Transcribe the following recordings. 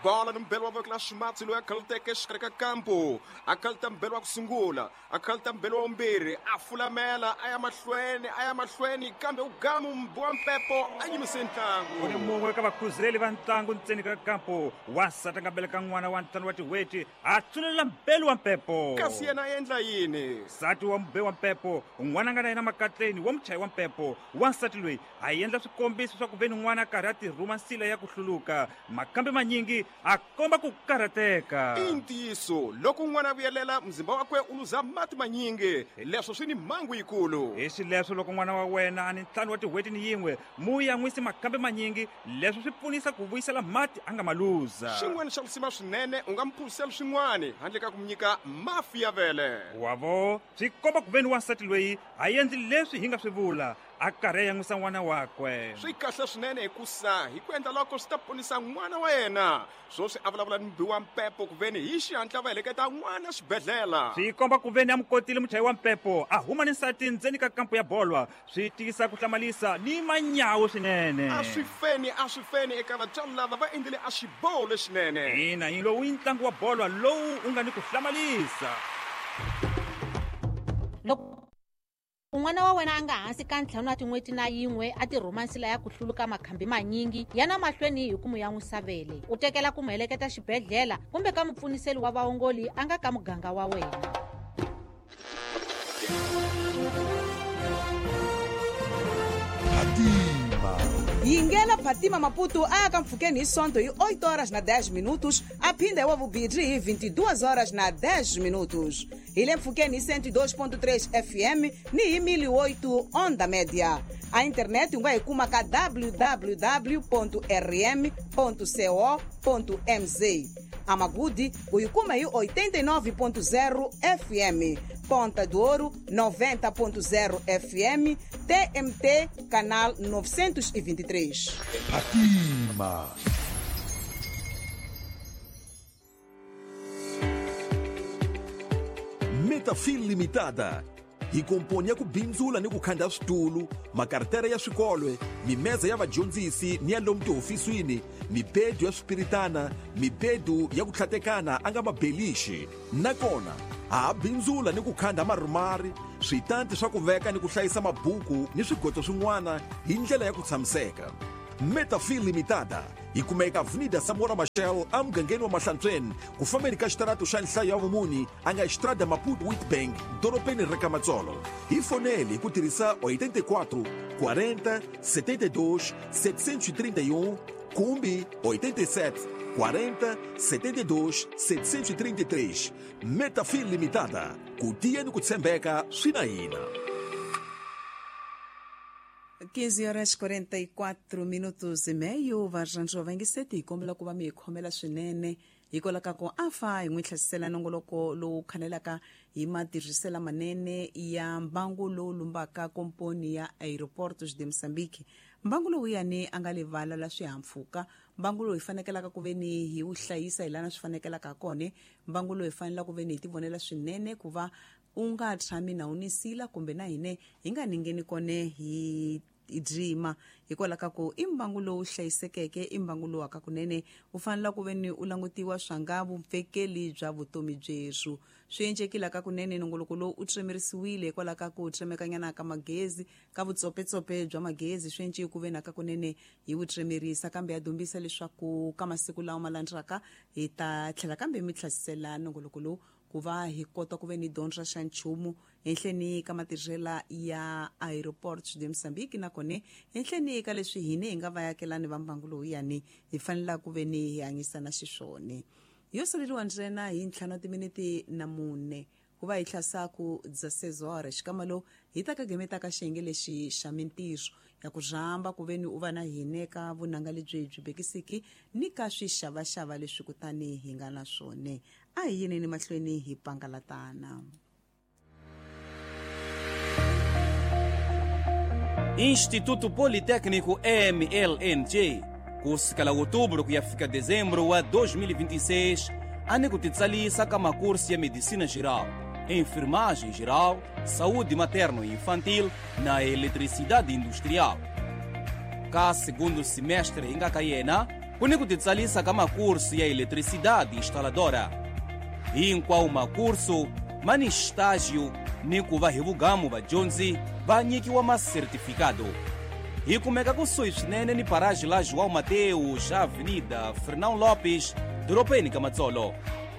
Bola ni mbelo wa voko la ximatsi loyi a khaluteke exikarhi ka kampu, a khaluta mbelo wa ku sungula, a khaluta mbelo wa vumbirhi, a fulamela a ya mahlweni, a ya mahlweni, kambe u gamu mbi wa mpepo a yimise ntlangu. Ku ni mun'we ka vakhuzeli va ntlangu ntseni ka kampu, wansati a nga beleka n'wana wa ntlhanu wa tin'hweti, a tsulelela mbelu wa mpepo. Kasi yena a endla yini? Nsati wa mube wa mpepo, n'wana a nga na yena makatleni wa muchayi wa mpepo, wansati loyi a endla swikombiso swa ku ve ni n'wana a karhi a tirhuma nsila ya ku hluluka. Makambe manyingi a komba ku karhateka. I ntiyiso, loko n'wana a vuyelela, muzimba wakwe u luza mati manyingi. Leswo swi ni mhangu yikulu. Hi xileswo, loko n'wana wa wena a ni ntlhanu wa tin'hweti ni yin'we, mu yan'wisi makambe manyingi. Leswo swi pfunisa ku vuyisela mati a nga ma luza. Xin'wana xa risima swinene, u nga mu phuzisela swin'wana handle ka ku mu nyika mafi ya vele. Wa vo, swi komba ku ve ni wansati loyi a endli leswi hi nga swi vula. A karhi a yan'wisa n'wana wakwe. Swi kahle swinene hikusa hi ku endla loko swi ta ponisa n'wana wa yena. Swoswi a vulavula ni mubi wa mpepo kuveni hi xihatla va heleketa n'wana xibedhlela. Swi komba kuveni a mu kotile muchayi wa mpepo a huma ni nsati ndzeni ka kampu ya bolwa. Swi tiyisa ku hlamalisa ni manyawu swinene. A swi feni, a swi feni eka vatswari lava va endlile a xiboho lexinene. Ina, lowu i ntlangu wa bolwa lowu u nga ni ku hlamalisa. Loko n'wana wa wena a nga hansi ka ntlhanu wa tin'hweti na yin'we a tirhuma nsila ya ku hluluka makhambi manyingi, yana mahlweni hi ku mu yan'wisa vele. U tekela ku mu heleketa xibedhlela kumbe ka mupfuniseli wa vaongoli a nga ka muganga wa wena. Phatima. Yingela Phatima Maputo a ya ka mpfhukeni hi Sonto hi 8 horas na 10 minutos, a phinda hi wa vumbirhi hi 22 horas na 10 minutos. Hi le mpfhukeni hi 102.3 FM ni hi 1008 onda média. A internet u nga yi kuma ka www.rm.co.mz. A Magude u yi kuma hi 89.0 FM, Ponta do Ouro 90.0 FM, TMT Canal 923. Phatima. Metafil Limitada hi komponi ya ku bindzula ni ku khanda switulu, makartere ya swikolwe, mimeza ya vadyondzisi ni ya lomu tihofisini, mibedu ya swipiritana, mibedu ya ku tlhatekana a nga mabelixi. Nakona ha ha bindzula ni ku khanda marumari, switanti swa ku veka ni ku hlayisa mabuku ni swigoto swin'wana hi ndlela ya ku tshamiseka. Metafil Limitada yi kumeka Avenida Samora Machel emugangeni wa Mahlantsweni ku fambeni ka xitarato xa nhlayo ya vumuni a nga Estrada Maputo Witbank dorobeni ra ka Matsolo. Hi foneli hi ku tirhisa 84 40 72 731 kumbe 87 40 72 733. Metafil Limitada, ku tiya ni ku tshembeka swi na hina. 15 horas 44 minutos e meio. Varhandzi va yingiseti, hi kombela ku va mi hi khomela swinene hikwalaho ka ku a fa hi n'wi hlasisela nongoloko lowu khanelaka hi matirhisela manene ya mbangu lowu lumbaka komponi ya Aeroportos de Moçambique. Mbangu lowuyani a nga livala la swihahampfhuka, mbangu lowu hi fanekelaka ku ve ni hi wu hlayisa hi lana swi fanekelaka kona, mbangu lowu hi fanelaka ku ve ni hi tivonela swinene ku va u nga tshami na wu nisila kumbe na hine hi nga ningeni kone hi drima, hikwalaho ka ku i mbangu lowu hlayisekeke, i mbangu lowu aka kunene u fanele ku ve ni u langutiwa swa nga vupfekeli bya vutomi byerhu. Swi encekile ka kunene nongoloko lowu u tremerisiwile hikwalaho ka ku tremekanyana ka magezi, ka vutsopetsope bya magezi, swi enceke ku ve na ka kunene hi wu tremerisa, kambe ya dumbisa leswaku ka masiku lawa ma landzaka hi ta tlhela kambe mi tlhasisela nongoloko lowu ku va hi kota ku ve ni dyondza xa nchumu henhleni ka matirhela ya Aeroportos de Moçambique, nakona henhleni ka leswi hine hi nga vayakelani va mbangu lowuyani hi fanelaka ku ve ni hi hanyisana xiswona. Yo saleriwa ntsena hi ntlhanu wa timinete na mune ku va hi hlasaku dza sezore xikama lowu hi ta ka gemetaka xiyenge lexi xa mintirho ya ku rhamba ku ve ni u va na hine ka vunanga lebyi byi bekisiki ni ka swixavaxava leswi kutani hi nga na swona. A hi yineni mahlweni hi pangalatana. Instituto Politécnico MLNJ kusukela outubro ku ya fika dezembro wa 2026 a ni ku titsalisa ka makursi ya medicina geral, enfermagem geral, saúde materno e infantil na eletricidade industrial. Ka segundo semestre hi nga ka yena Ku ni ku titsalisa ka makursu ya eletricidade instaladora. Hinkwawo makursu ma ni estágio ni ku va hi vugamu vadyondzi va nyikiwa masertifikado. Hi kumeka kusuhi swinene ni paraji la João Mateus, Avenida Fernão Lopes, doropeni ka Matsolo.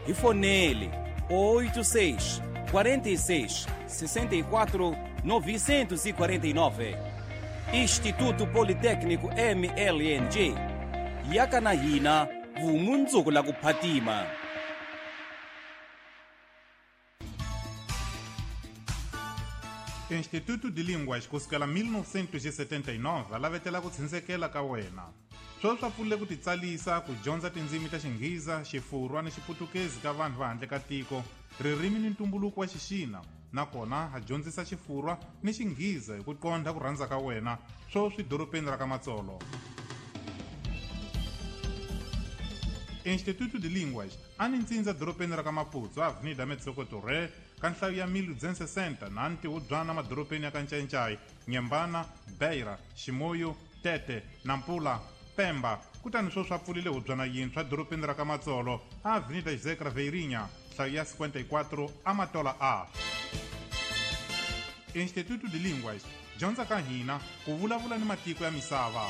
Hi fonele 86 46 64 949. Instituto Politécnico MLNG. Yaka na hina vumundzuku la ku phatima. Instituto de Línguas kusukela 1979 a lavetela ku tshindzekela ka wena. Sweswi swa pfulile ku titsalisa ku dyondza tindzimi ta Xinghiza, Xifurwa ni Xiputukezi ka vanhu va handle ka tiko, ririmi ni ntumbuluko wa Xixina, nakona a dyondzisa Xifurwa ni Xinghiza hi ku qondha ku rhandza ka wena, sweswi doropeni ra ka Matsolo. Instituto de Línguas a ni ntsindza doropeni ra ka Maputo, Avenida Metsoko Torre, ka nhlayo ya 1260 na ntihubyana madorobeni ya ka Ncayincai, Nyembana, Beira, Ximoyo, Tete, Nampula, Pemba. Kutani sweswi swa pfulile hubyana yintshwa dorobeni ra ka Matsolo, Avenida José Craveirinha, nhlayo ya 54 Amatola A. Instituto de Línguas, dyondza ka hina ku vulavula ni matiko ya misava.